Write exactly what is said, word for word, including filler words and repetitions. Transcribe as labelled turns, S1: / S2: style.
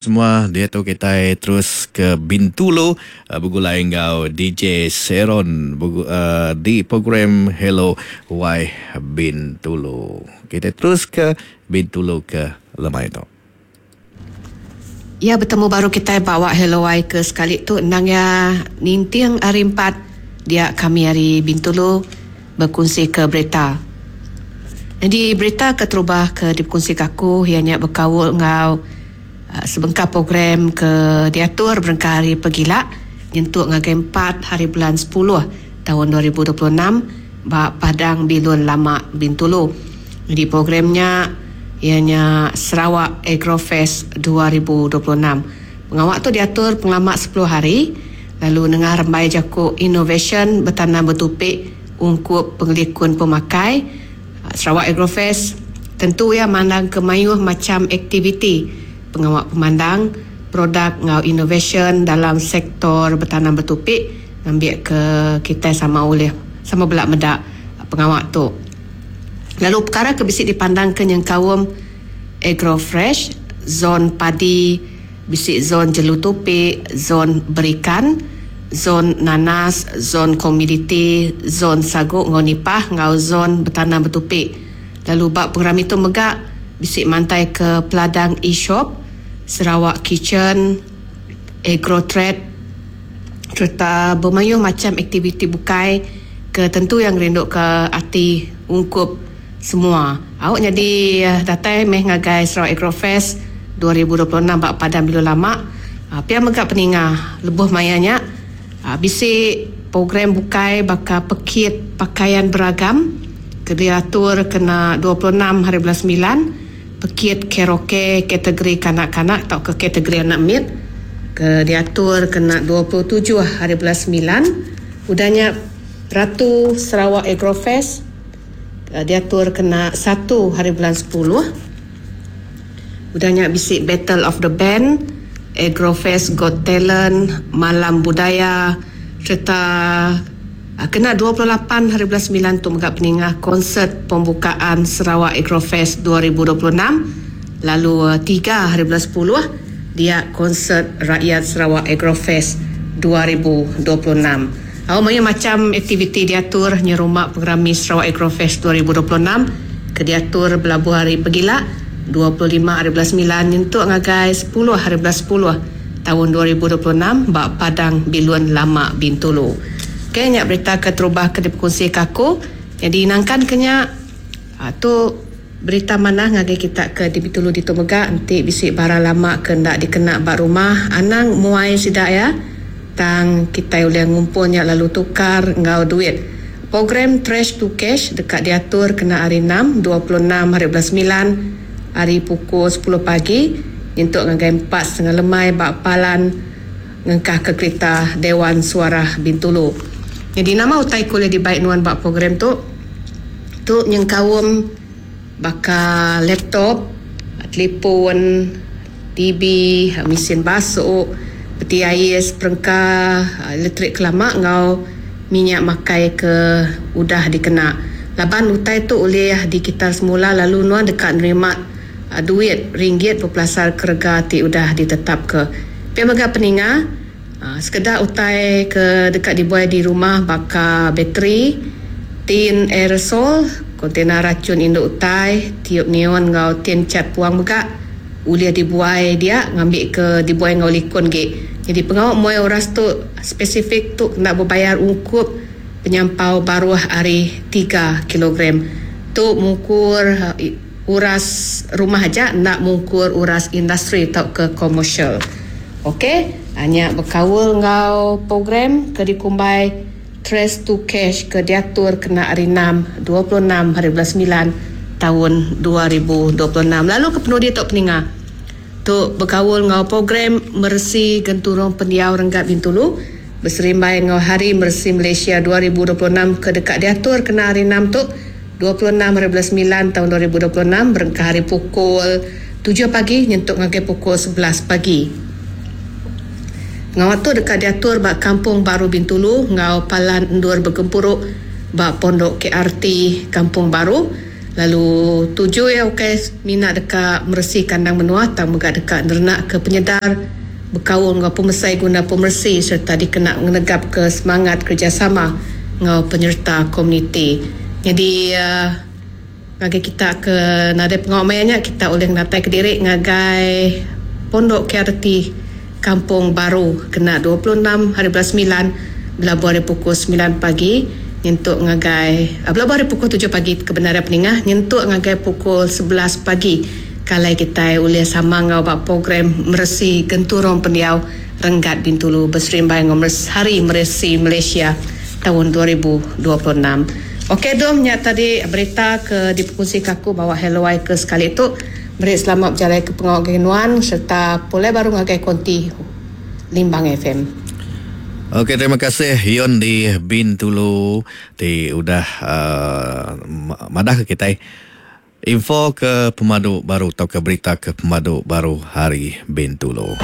S1: Semua diatu kitai terus ke Bintulu begulai enggau D J Seron di program Hello Wai Bintulu. Kitai terus ke Bintulu ke lemai tu.
S2: Ya betemu baru kitai bawa Hello Wai ke sekali tu endang ya ninting hari empat dia kami hari Bintulu berkongsi ke berita. Jadi berita keterubah ke dikongsi ke aku ianya berkaul enggau sebengkah program ke diatur berengkah hari pegila nyentuk ngagai empat hari bulan sepuluh tahun dua ribu dua puluh enam ba Padang Bilun Lama Bintulu. Jadi programnya ianya Sarawak Agrofest dua ribu dua puluh enam. Pengawak tu diatur pengelama sepuluh hari lalu nengah rembai jaku inovasi bertanam bertupik ungkup pengelikun pemakai. Sarawak Agrofest tentu ia mandang ke mayuh macam aktiviti pengawak pemandang produk ngau inovasi dalam sektor bertanam bertupik ngambil ke kita sama oleh sama belak medak pengawak tu. Lalu perkara ke bisi dipandang ke nyengkaum Agrofresh, zon padi, bisi zon jelu tupik, zon berikan, zon nanas, zon komoditi, zon sagu ngau nipah ngau zon bertanam bertupik. Lalu bab program itu megak bisi mantai ke Peladang e-shop, Sarawak Kitchen, Agrotrade serta bermayuh macam aktiviti bukai ke tentu yang rindu ke ati ungkup semua. Awak jadi datai meh ngagai Sarawak Agrofest dua ribu dua puluh enam bak Padang Bilun Lama. Pia megak peninga lebuh mayanya bisi program bukai baka pekit pakaian beragam ke diatur kena dua puluh enam hari bulan sembilan, pekit karaoke kategori kanak-kanak atau ke kategori anak mit ke diatur kena dua puluh tujuh hari bulan sembilan. Udahnya Ratu Sarawak Agrofest diatur kena satu hari bulan sepuluh. Udahnya bisi Battle of the Band, Agrofest Got Talent, Malam Budaya serta kena dua puluh lapan hari bulan sembilan tu megak peningah konsert pembukaan Sarawak Agrofest dua ribu dua puluh enam. Lalu tiga hari bulan sepuluh dia konsert Rakyat Sarawak Agrofest dua ribu dua puluh enam. Au banyak macam aktiviti diatur nyerumah program Sarawak Agrofest dua ribu dua puluh enam ke diatur belabuh hari pegila dua puluh lima hari bulan sembilan nyentuk ngagai sepuluh hari bulan sepuluh tahun dua ribu dua puluh enam ba Padang Bilun Lama Bintulu. Okey, nyak berita ke terubah ke dikongsi ke aku. Jadi nangkan kenya tu berita mana ngagai kita ke di Bintulu di Tumega enti bisi barang lama ke ndak dikena ba rumah anang muai sida ya. Tang kita ulih ngumpulnya lalu tukar ngau duit. Program Trash to Cash dekat diatur kena hari enam, dua puluh enam hari bulan sembilan, hari pukul sepuluh pagi untuk ngagai empat setengah lemai ba palan ngengkah ke kereta Dewan Suara Bintulu. Jadi nama utai kuliah dibaik nuan bak program tu tu nyengkaum baka laptop, telefon, T V, mesin basuh, peti ais, perengka elektrik kelama ngau minyak makai ke udah dikena. Laban utai tu ulih di kita semula lalu nuan dekat nerima duit ringgit berpelasar kerega ti udah ditetap ke. Pia mega peninga sekedar utai ke dekat dibuai di rumah baka bateri, tin aerosol, kontena racun induk utai, tiup neon ngau tin cat puang mega ulih dibuai dia ngambil ke dibuai ngau likun ge. Jadi pengawak muai uras tu spesifik tu nak berbayar ungkup penyampau baruh hari tiga kilogram. Tu mengukur uras rumah aja nak mengukur uras industri atau ke komersial. Okey, hanya berkaul ngau program ke dikumbai Trash to Cash ke diatur kena hari enam, dua puluh enam hari bulan sembilan tahun dua ribu dua puluh enam. Lalu ke penudi tok peninga. Tu berkaul ngau program Mersi Genturung Pendiau Renggat Bintulu berserimbai ngau Hari Mersi Malaysia dua ribu dua puluh enam ke dekat diatur kena hari enam tu dua puluh enam hari bulan sembilan tahun dua ribu dua puluh enam berengkah hari pukul tujuh pagi nyentuk ngagai pukul sebelas pagi. Ngawak tu dekat diatur bak Kampung Baru Bintulu ngau Palan Endur Bergempuruk bak Pondok K R T Kampung Baru. Lalu tuju ya ukai mina deka meresi kandang menua tang mega deka nerenak ke penyedar bekaul ngau pemesai guna pemeresi serta dikena ngenegap ke semangat kerjasama ngau penyerta komuniti. Jadi uh, ngagai kita ke nadai pengawal mayanya kita boleh ngatai ke diri ngagai Pondok K R T Kampung Baru kena dua puluh enam hari bulan sembilan belabuh hari pukul sembilan pagi nyentuk ngagai uh, belabuh hari pukul tujuh pagi kebenaran peningah nyentuk ngagai pukul sebelas pagi kalai kita ulih sama ngau bak program meresi genturung pendiau Renggat Bintulu berserimbai ngau Hari Meresi Malaysia tahun dua ribu dua puluh enam. Okey dom nya tadi berita ke dipukul kaku bawa Hello Y ke sekali tu. Beri selamat berjalan ke pengawal Genuan serta pulai baru ngagai konti Limbang F M.
S1: Okey, terima kasih Yon di Bintulu ti udah uh, madah ke kita info ke pemadu baru atau ke berita ke pemadu baru hari Bintulu.